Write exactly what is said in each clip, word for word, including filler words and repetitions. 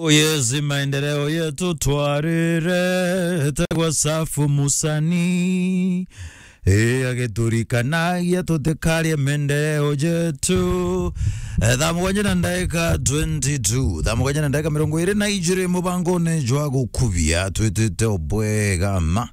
Oh yes, maendeleo yetu twarire, tegwa safu musani. E, agiturikanagia tutikarie maendeleo yetu. E, thaa mugwanja na ndaika twenty-two, thaa mugwanja na ndaika mirongo iri na ijiri, mubangone jwa gukubia twitite obwega ma.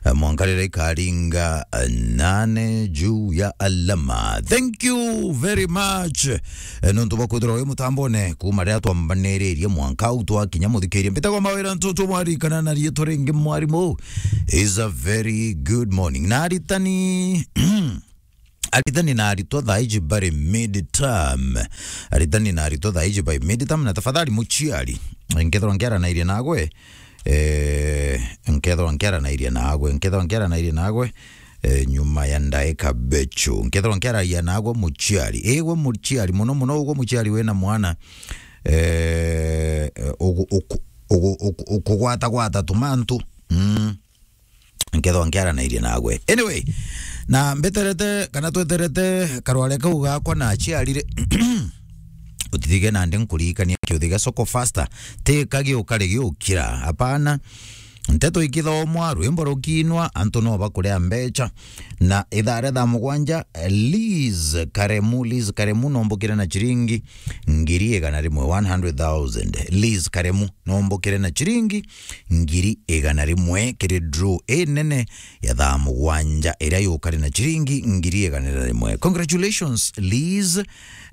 E, mwanka riria ikaringa, e, nane juu ya alama. Thank you very much. E, nontu bwa kwithirwa wi mutambone kuma riria twambaniririe mwanka au twakinya muthikiria. Mbitagwa Mawira Ntutu, mwarikana na riitwa ringi mwarimu. Is a very good morning. Na aritani, aritani na aritwa thaa iji bari mid term. Aritani na aritwa thaa iji bari mid term, na tafadhali muciari, nkethirwa nkiaranairie nagwe, eh, nkethirwa nkiaranairie nagwe, nkethirwa nkiaranairie nagwe, eh, nyuma ya ndaika bechu. Nkethirwa nkiaragia nagwe muciari. Igwe muciari, muno muno ugwe muciari wina mwana, eh, ugu-, uku-, ugu-, uku-, ukugwata gwata tumantu. Mm. Nkethwa nkiaranairie nagwe. Anyway, na mbeterete kana tweterete karware kau gakwa na aciarire. Utithige nandi nkuririkania kiuthi gia Soko Faster. Ti kagiukari giukira. Hapana. Nteto ikithomwa, rwimbo rukiinwa, antu no bakuria mbecha. Na ithaa ria thaa mugwanja, Liz Karemu, Liz Karemu nombukire na chiringi ngiri igana rimwe, one hundred thousand. Liz Karemu nombukire na chiringi ngiri igana rimwe kiri draw inene ya thaa mugwanja iria yukari na chiringi ngiri igana rimwe. Congratulations, Liz.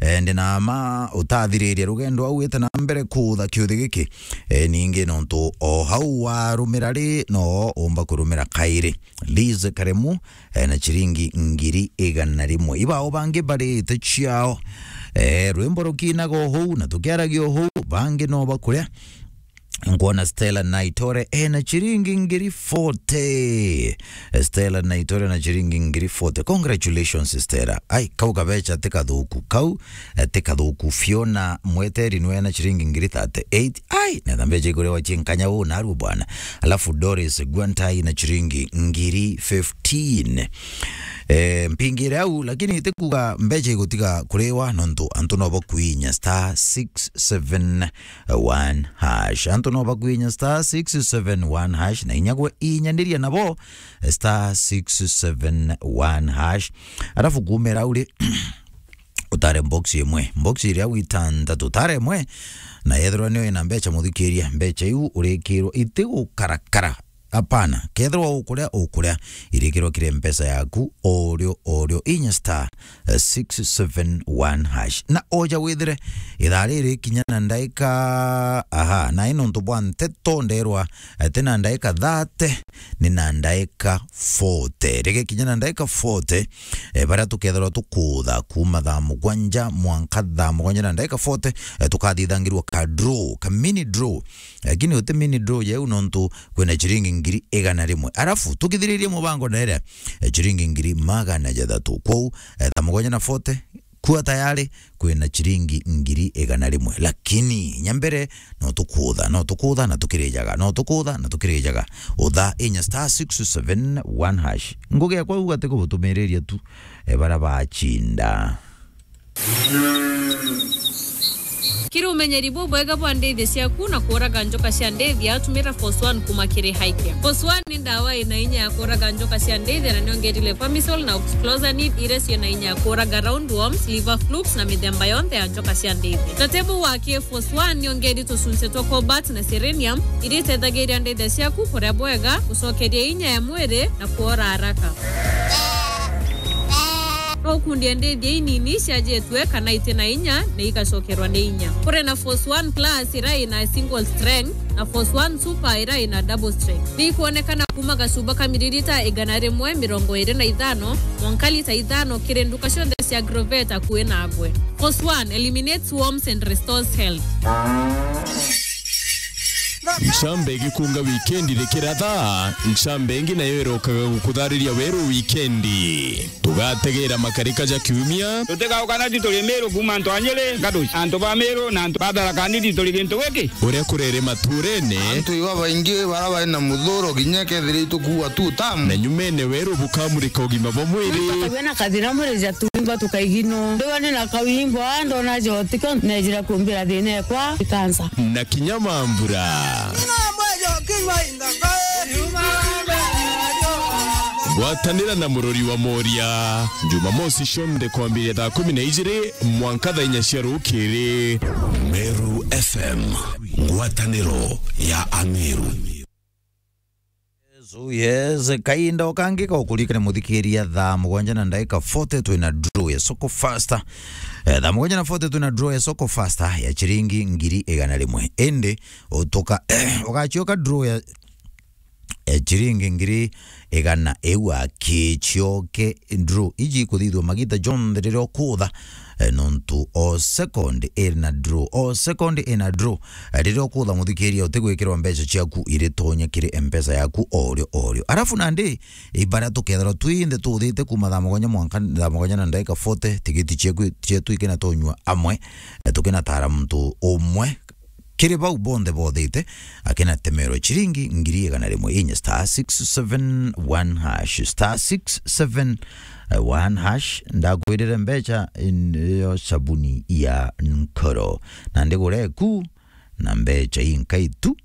Eh, ndi na ma utathiriria rugendo au wite na mbere kuutha kiuthi giki. Eh, ningi nontu o hau warumira ri, no umba kurumira kairi. Liz Karemu, eh, na chiringi ngiri igana rimwe. Ibao bangi barite ciao. Eh, rwimbo rukinaga o hou na tukiaragia o hou, bangi no bakuria. Nkwona Stella Naitore, eh, na chiringi ngiri forty. Stella Naitore na chiringi ngiri forty. Congratulations, Stella. Ai, kau kabecha ti kathuku. Kau, eh, ti kathuku. Fiona Mweteri nwe na chiringi ngiri thirty-eight. Ai, na mbecha ikurewa chinkanya u naru bwana. Alafu Doris Gwantai na chiringi ngiri fifteen. Eh, mpingire au, lakini ti kuga mbecha igutiga kuriwa, nontu antu no bakwinya star six seven one hash. Antu no bakwinya star six seven one hash, na inya gwe inyaniria nabo, star six seven one hash. Alafu kumira uri, utare box imwe. Box iria witantatu, utare imwe, na yethirwa niyo ina mbecha, muthikiria, mbecha iu urikirwa itigukarakara. Hapana, kethirwa ukuria, ukuria, irikirwa kiri mpesa yaku, orio, orio, inya star, eh, six seven one hash. Na oja withire, ithaa riri kinya na ndaika, aha, na ino ntu bwa nteto nderwa, eh, ti na ndaika thirty, ni na ndaika forty. Rege kinya na ndaika forty, eh, baria tukethirwa tukutha kuma thaa mugwanja mwanka thaa mugwanja na ndaika forty, eh, tukathithangirwa ka draw, ka mini draw. Lakini uti mini draw yeu nontu kwina chiringi ngiri igana rimwe. Alafu tukithiririe mubango na iria, eh, chiringi ngiri magana jathatu. Kwou, eh, thaa mugwanja na forty, kuwa tayari, kwina chiringi ngiri igana rimwe. Lakini, inya mbere, no tukutha, no tukutha na tukirijaga, no tukutha na tukirijaga. Utha inya star six seven one hash. Ngugi yakwa uga ti kubutumiriria tu, eh, bara bachinda. Kiri umenyeri bubwega bwa ndithia ciaku na kuuraga njoka cia ndithia, tumira Force One kuma kiri Highcare. Force One ni ndawa ina inya ya kuuraga njoka cia ndithia na niongerire Pamisol na Oxyclosanid iria ciina inya ya kuuraga roundworms, liver flukes na mithemba yonthe ya njoka cia ndithia. Tatebu wa ki Force One niongeri tucunci twa cobalt na selenium iria itethagiria ndithia ciaku kuria bwega, gucokeria inya ya mwiri na kuora haraka. No ukundie ndithia inini ciajitue kana iti na inya na igacokerwa ni inya. Kuri na Force One Plus iria ina single strength na Force One Super iria ina double strength. Ni ikwonekana kuma gacuba ka miririta igana rimwe mirongo iri na ithano mwanka lita ithano kiri nduka cionthe cia Agrovet akui nagwe. Force One eliminates worms and restores health. Ncambe igikunga wikendi rikiratha, ncambe ingi nayo irokaga gukuthariria weru wikendi. Tugategera makarika ja kiumia. Tutigauka na tituri Miru kuma antu a Nyeri, Gaduci, antu ba Miru na antu ba Tharaka Nithi turi gintu giki. Uria kurere maturene. Antu iba baingi bara bari na muthuro, kinya kethira itukuua tu tamu. Na nyumene weru bukamurika ugima bwa mwiri. Muntu akagĩa na kathĩna mwĩrĩ ja tu. Mba tukaigino. Ndiwa ni na kawimbo, ah, ndona jotiko, nejira kumbira thina ekwa, ikansa. Na kinya mambura. Gwatanira na murori wa Moria. Jumamosi cionthe kwambiria thaa kumi na ijiri mwanka thaa inya cia rukiri. Meru F M, ngwataniro ya Ameru. So yes, kainda o kangi ka ukurikana muthikiria thaa mugwanja na ndaika forty twina draw ya Soko Faster. Eh, thaa mugwanja na forty twina draw ya Soko Faster ya chiringi ngiri igana rimwe. Indi utuka, ugachioka draw ya, ya chiringi ngiri igana iu akichioke draw. Iji ikuthithua magita jonthe riria ukutha, eh, nontu o second ina draw, o second ina draw. Eh, riria ukutha muthikiria, utigwikirwa mbeca ciaku iritonya kiri M-Pesa yaku orio orio. Arafu nandi, ibara tukethirwa twinthe tuthite kuma thaa mugwanja mwanka, thaa mugwanja na ndaika forty, tigiti cieku, cietu ikina tonyua amwe, eh, tukinatara muntu umwe, kiri bau bonthe bothite, akinatemerwa chiringi ngiri igana rimwe inya star six seven one hash, star six seven one hash. Ndakwirire mbeca in-, yo sabuni ya nkoro. Na ndigure ku na mbeca inkai tu.